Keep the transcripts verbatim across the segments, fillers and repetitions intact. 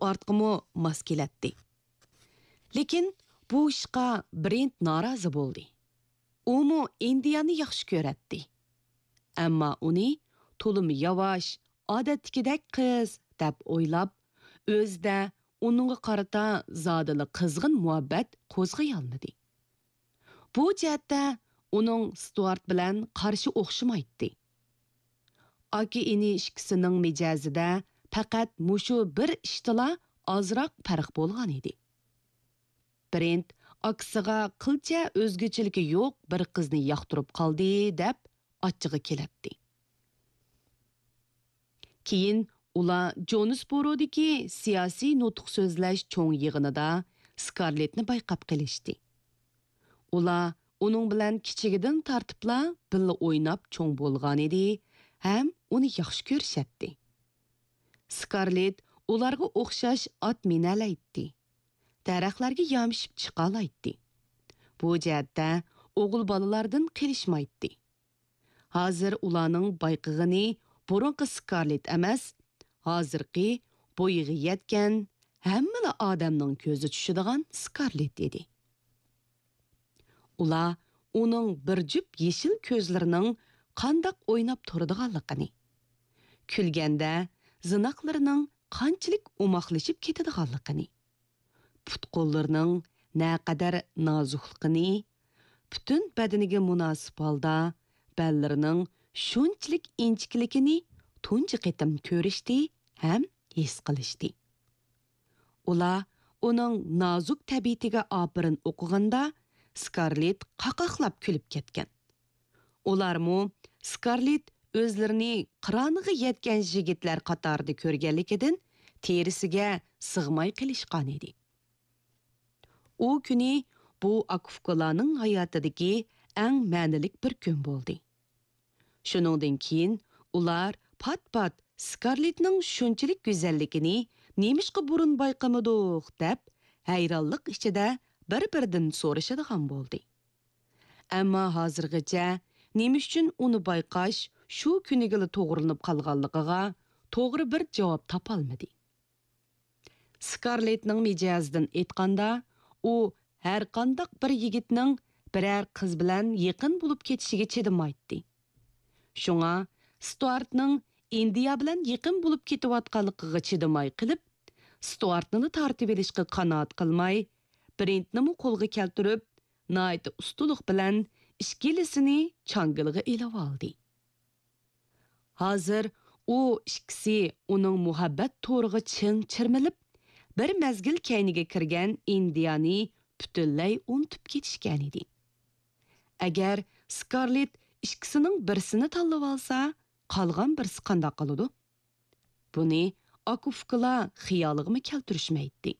ستۇئارتقىمۇ ماس كېلەتتى. لېكىن بۇ ئىشقا برېنت نارازى بولدى. ئۇمۇ ئىندىيانى ياخشى كۆرەتتى. ئەمما ئۇنى تولىمۇ ياۋاش، ئادەتتىكىدەك قىز دەپ ئويلاپ، ئۆزىدە ئۇنىڭغا قارىتا زادىلا قىزغىن مۇھەببەت قوزغىيالمىدى. بۇ جەھەتتە ئۇنىڭ ستۇئارت بىلەن قارىشى ئوخشىمايتتى. ئاكا-ئىنى ئىككىسىنىڭ مىجەزىدە پەقەت مۇشۇ بىر ئىشتىلا ئازراق پەرق بولغانىدى. برېنت ئاكىسىغا قىلچە ئۆزگىچىلىكى يوق بىر قىزنى ياقتۇرۇپ قالدى دەپ ئاچچىقى كېلەتتى. كېيىن ئۇلار جونسبورودىكى سىياسىي نۇتۇق سۆزلەش چوڭ يىغىنىدا سكارلېتنى بايقاپ قېلىشتى. ئۇلار ئۇنىڭ بىلەن كىچىكىدىن تارتىپلا بىللە ئويناپ چوڭ بولغانىدى ھەم ئۇنى ياخشى كۆرۈشەتتى. سكارلېت ئۇلارغا ئوخشاش ئات مىنەلەيتتى. دەرەخلەرگە يامىشىپ چىقالايتتى. بۇ جەھەتتە ئوغۇل بالىلاردىن قېلىشمايتتى. ھازىر ئۇلارنىڭ بايقىغىنى بۇرۇنقى سكارلېت ئەمەس، ھازىرقى بويىغا يەتكەن، ھەممىلا ئادەمنىڭ كۆزى چۈشىدىغان سكارلېت ئىدى. ئۇلار ئۇنىڭ بىر جۈپ يېشىل كۆزلىرىنىڭ قانداق ئويناپ تۇرىدىغانلىقىنى، كۈلگەندە زىناقلىرىنىڭ قانچىلىك ئوماقلىشىپ كېتىدىغانلىقىنى، پۇت-قوللىرىنىڭ نەقەدەر نازۇكلۇقىنى، پۈتۈن بەدىنىگە مۇناسىپ ھالدا بەللىرىنىڭ شۇنچىلىك ئىنچىكىلىكىنى تۇنجى قېتىم كۆرۈشتى ھەم ھېس قىلىشتى. ئۇلار ئۇنىڭ نازۇك تەبىئىتىگە ئاپىرىن ئوقۇغاندا، سكارلېت قاقاقلاپ كۈلۈپ كەتكەن. ئۇلارمۇ سكارلېت ئۆزلىرىنى قىرانىغا يەتكەن يىگىتلەر قاتارىدا كۆرگەنلىكىدىن، تېرىسىگە سىغماي قېلىشقانىدى. ئۇ كۈنى بۇ ئاكا-ئۇكىلارنىڭ ھاياتىدىكى ئەڭ مەنىلىك بىر كۈن بولدى. شۇنىڭدىن كېيىن ئۇلار پات-پات سكارلېتنىڭ شۇنچىلىك گۈزەللىكىنى نېمىشقا بۇرۇن بايقىمىدۇق دەپ، ھەيرانلىق ئىچىدە بىر-بىرىدىن سورىشىدىغان بولدى. ئەمما ھازىرغىچە نېمە ئۈچۈن ئۇنى بايقاش شۇ كۈنىگىلا توغرىلىنىپ قالغانلىقىغا توغرا بىر جاۋاب تاپالمىدى. سكارلېتنىڭ مىجەزىدىن ئېيتقاندا، ئۇ ھەرقانداق بىر يىگىتنىڭ بىرەر قىز بىلەن يېقىن بولۇپ كېتىشىگە چىدىمايتتى. شۇڭا ستۇئارتنىڭ ئىندىيا بىلەن يېقىن بولۇپ كېتىۋاتقانلىقىغا چىدىماي قېلىپ، ستۇئارتنىلا تارتىۋېلىشقا قانائەت قىلماي، برېنتنىمۇ قولغا كەلتۈرۈپ، ناھايىتى ئۇستىلىق بىلەن ئىككىلىسىنى چاڭگىلىغا ئېلىۋالدى. ھازىر ئۇ ئىككىسى ئۇنىڭ مۇھەببەت تورىغا چىڭ چىرمىلىپ، بىر مەزگىل كەينىگە كىرگەن ئىندىيانى پۈتۈنلەي ئۇنتۇپ كېتىشكەنىدى. ئەگەر سكارلېت ئىككىسىنىڭ بىرسىنى تاللىۋالسا، قالغان بىرسى قانداق قىلىدۇ؟ بۇنى ئاكا-ئۇكىلار خىيالىغىمۇ كەلتۈرۈشمەيتتى.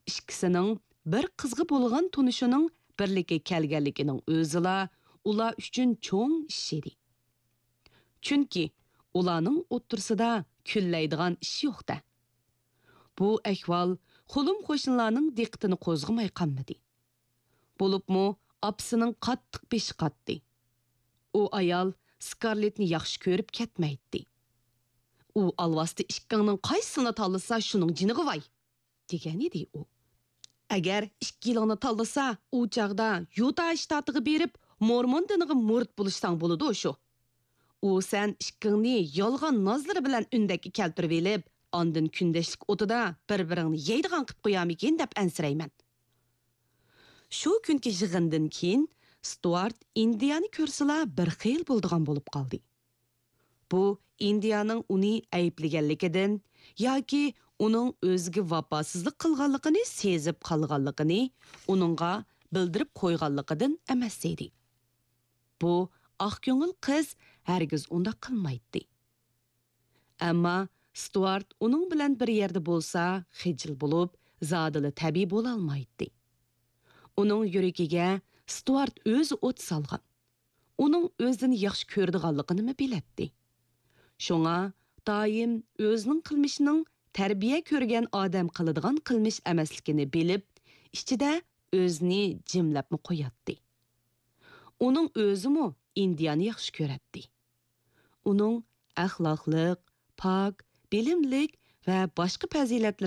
ئىككىسىنىڭ بىر قىزغا بولغان تونۇشىنىڭ بىرلىككە كەلگەنلىكىنىڭ ئۆزىلا ئۇلار ئۈچۈن چوڭ ئىش ئىدى. چۈنكى ئۇلارنىڭ ئوتتۇرىسىدا كۈنلەيدىغان ئىش يوق-دە. بۇ ئەھۋال قولۇم-قوشنىلارنىڭ دىققىتىنى قوزغىماي قالمىدى. بولۇپمۇ ئاپىسىنىڭ قاتتىق بېشى قاتتى. ئۇ ئايال سكارلېتنى ياخشى كۆرۈپ كەتمەيتتى. ئۇ ئالۋاستى ئىككىڭنىڭ قايسىسىنى تاللىسا، شۇنىڭ جېنىغا ۋاي! دېگەنىدى ئۇ. ئەگەر ئىككىيلىڭنى تاللىسا، ئۇ چاغدا يۇتا شتاتىغا بېرىپ، مورمون دىنىغا مۇرىت بولۇشساڭ بولىدۇ شۇ. ئۇ سەن ئىككىڭنى يالغان نازلىرى بىلەن ئۈندەككە كەلتۈرۈۋېلىپ، ئاندىن كۈندەشلىك ئوتىدا بىر-بىرىڭنى يەيدىغان قىپ قويارمىكىن دەپ ئەنسىرەيمەن. شۇ كۈنكى يىغىندىن كېيىن ستۇئارت ئىندىيانى كۆرسىلا بىر خىل بولىدىغان بولۇپ قالدى. بۇ ئىندىيانىڭ ئۇنى ئەيىبلىگەنلىكىدىن ياكى ئۇنىڭ ئۆزىگە ۋاپاسىزلىق قىلغانلىقىنى سېزىپ قالغانلىقىنى ئۇنىڭغا بىلدۈرۈپ قويغانلىقىدىن ئەمەس ئىدى. بۇ ئاق كۆڭۈل قىز ھەرگىز ئۇنداق قىلمايتتى. ئەمما ستۇئارت ئۇنىڭ بىلەن بىر يەردە بولسا خىجىل بولۇپ، زادىلا تەبىئىي بولالمايتتى. ئۇنىڭ يۈرىكىگە ستۇئارت ئۆزى ئوت سالغان. ئۇنىڭ ئۆزىنى ياخشى كۆرىدىغانلىقىنىمۇ بىلەتتى. شۇڭا دائىم ئۆزىنىڭ قىلمىشىنىڭ تەربىيە كۆرگەن ئادەم قىلىدىغان قىلمىش ئەمەسلىكىنى بىلىپ، ئىچىدە ئۆزىنى جىملەپمۇ قوياتتى. ئۇنىڭ ئۆزىمۇ ئىندىيانى ياخشى كۆرەتتى. ئۇنىڭ ئەخلاقلىق، پاك، بىلىملىك ۋە باشقا پەزىلەتلىرى